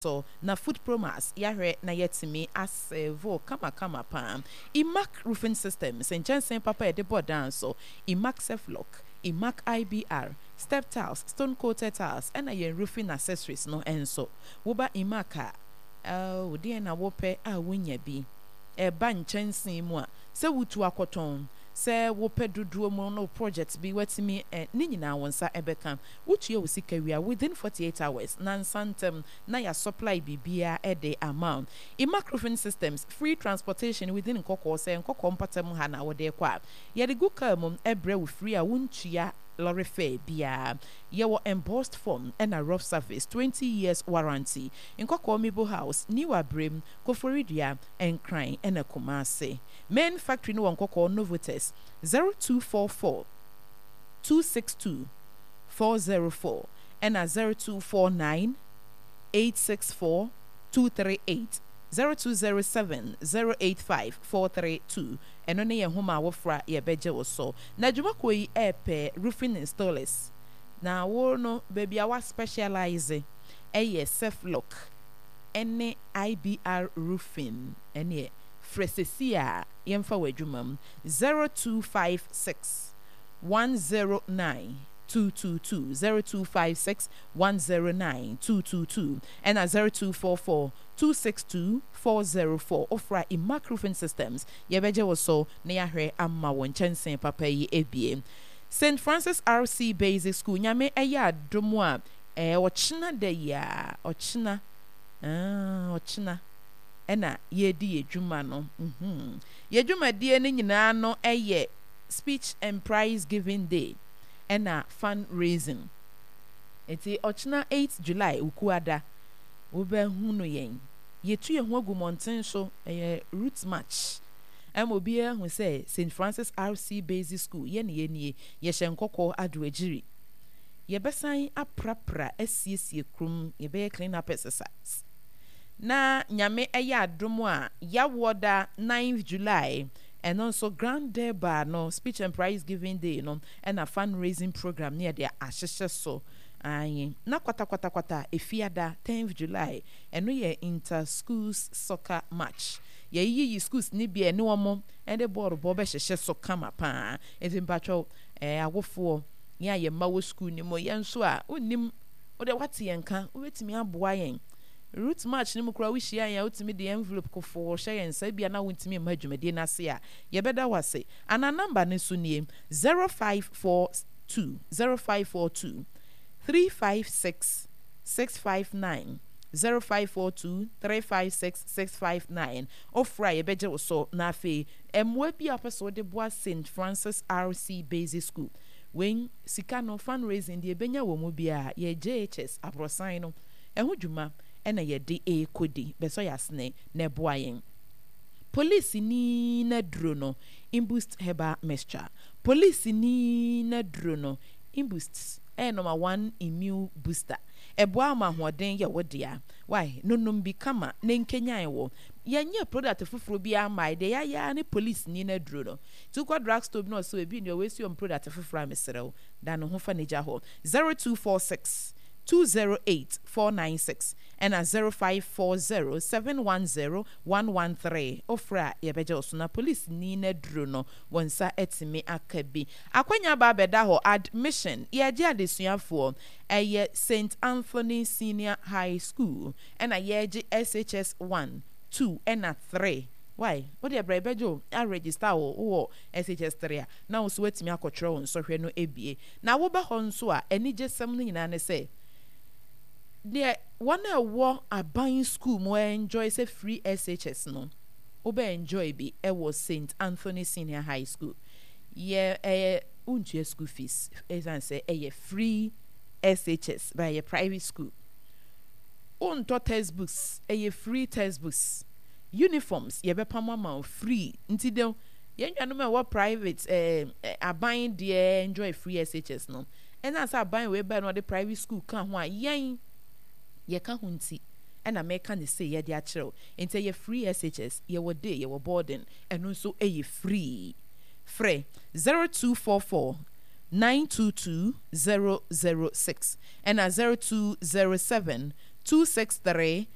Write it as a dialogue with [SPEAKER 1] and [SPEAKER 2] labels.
[SPEAKER 1] So na Food Promax yɛahwɛ na yɛatumi asɛɛve wo kamakama paa. Emac Roofing Systems, nkyɛnsee papa a yɛde bɔ dan so, Emac Ceflock, Emac IBR, Step Tiles, Stone Coated Tiles, ɛna yɛn roofing accessories no nso. Woba Emac a, oh, deɛn na wopɛ a wonnya bi? Ɛba nkyɛnsee mu a, sɛ wotu akɔtɔn, sɛ wopɛ dodoɔ mu no project bi woatumi ɛ, ne nyinaa wo nsa bɛka. Wotua wo sika wie a, within 48 hours, nansa ntam, na yɛasupply biribiara de ama wo. Imac Roofing Systems, free transportation within Nkɔkɔɔ, sɛ Nkɔkɔɔ mpɔtam ha na wode rekɔ a, yɛde gu car mu brɛ wo free a wontua lorry fare biara. Yɛwɔ embossed form ɛna rough surface, 20 years warranty. Nkɔkɔɔ Mibo House, New Abrem, Koforidua, Nkran ɛna Kumasi. Main factory no wɔ Nkɔkɔɔ Novotes, 0244 262 404 ɛna 0249 864 238, 0207 085 432. Ɛno ne yɛn nhoma a wofra a yɛbɛgye wo so. Na dwumakuo yi ɛrepɛ roofing installers. Na wo no baabi a wa specialise ɛyɛ Ceflock ɛne IBR roofing ɛneɛ frɛ sɛsi a yɛmfa wo adwuma mu 0256 109 222, 0256 109 222, ɛna 0244 262 404. Wofra Imac Roofing Systems, yɛbɛgye wo so na yɛahwɛ ama wo nkyɛnsee papa yi abue. St. Francis RC Basic School, Nyame ɛyɛ adom a, ɛɛ ɔkyena da yi a, ɔkyena, aah, ɔkyena ɛna yɛredi yɛ dwuma no. Mm-hmm. Yɛ dwumadie no nyinaa no ɛyɛ Speech and Prize Giving Day ɛna Fund Raising. Nti ɔkyena eight July Wukuada wobɛhunu yɛn. Yɛtu yɛn ho agu mmɔnten so, ɛyɛ route march ɛma obiara ahu sɛ Saint Francis RC Basic School yɛn na yɛnie, yɛhyɛ nkɔkɔɔ adoagyiri. Yɛbɛsan aprapra asiesie kurom, yɛbɛyɛ clean up exercise. Na Nyame ɛyɛ adom a, Yawoɔ da ninth July, ɛno nso Grand Durbar no, Speech and Prize Giving Day no, ɛna Fund Raising Program no yɛde ahyehyɛ so. Aane. Na kwatakwatakwata Efiada, tenth July, ɛno yɛ Inter Schools Soccer Match. Yɛayiyi schools no bi a ɛne wɔn de bɔɔl bɔ bɛhyehyɛ so kama pa ara. Nti mpakyɛw, ɛɛ awofoɔ, yɛn a yɛn mma wɔ school no mu, yɛn nso a wonnim, wo deɛ woate yɛn nka, wobɛtumi aboa yɛn. Route march no mu koraa wohyia yɛn a wotumi de envelope kofoo hyɛ yɛn nsa, ebia na wontumi mma dwumadie no ase a, yɛbɛda wo ase. Anaa number no nso nie, 0542, 0542 356 659, 0542 356 659. Wofrɛ a yɛbɛgye wo so. Na afei mmoa bi a wopɛ sɛ wode boa Saint Francis RC Basic School, wei sika no, fundraising, deɛ yɛbɛnya wɔ mu biara, yɛ JHS aborɔsan no ɛho dwuma na yɛde rekɔdi. Bɛsɔ yɛn asene na ɛboa yɛn. Polisini no aduro no, Imboost Herbal Mixture. Polisini no aduro no, Imboost, ɛyɛ number one immune booster. Ɛboa ma ahoɔden yɛ wo dea. Wai, nonom bi kama na ɛnkanyan wo. Yɛnyɛɛ product foforɔ biara mmae, deɛ yɛayɛ ara ne polisini no aduro no. Nti wokɔ drug store bi na ɔsɛ ebi nni hɔ, wei nso yɛ wɔn product foforɔ a, mesrɛ wo, da ne ho fa no gya hɔ. 0246 208 496 ɛna 0540 710 113. Wofrɛ a, yɛbɛgye wo so na polisini no aduro no, wo nsa atumi aka bi. Akwanya aba abɛda hɔ, admission, yɛregye adesuafoɔ. Ɛyɛ Saint Anthony Senior High School ɛna yɛregye SHS 1, 2 ɛna 3. Wai, wo deɛ bra yɛbɛgye wo, aregister wo, wowɔ SHS 3 a, na wo nso woatumi akɔtwerɛ wo nsɔhwɛ no abie. Na woba hɔ nso a, anigyesɛm no nyinaa ne sɛ, deɛ wɔn a ɛwɔ aban school mu enjoy sɛ free SHS no, wobɛ enjoy bi ɛwɔ Saint Anthony Senior High School. Yɛ ɛyɛ wontua school fees ɛsiane sɛ ɛyɛ free SHS, but ɛyɛ private school. Wontɔ textbooks, ɛyɛ free textbooks. Uniforms yɛbɛpam ama wo free. Nti de yɛn nuanom a ɛwɔ private ɛɛ eh, aban deɛ enjoy free SHS no. Ɛnam sɛ aban wei bae na ɔde private school ka ho a yɛn yɛka ho nti ɛna meka no sei yɛde akyerɛ wo. Nti ɛyɛ free SHS, yɛwɔ day, yɛwɔ boarding, ɛno nso ɛyɛ free. Frɛ 0244 922 006 ɛna 0207. 263.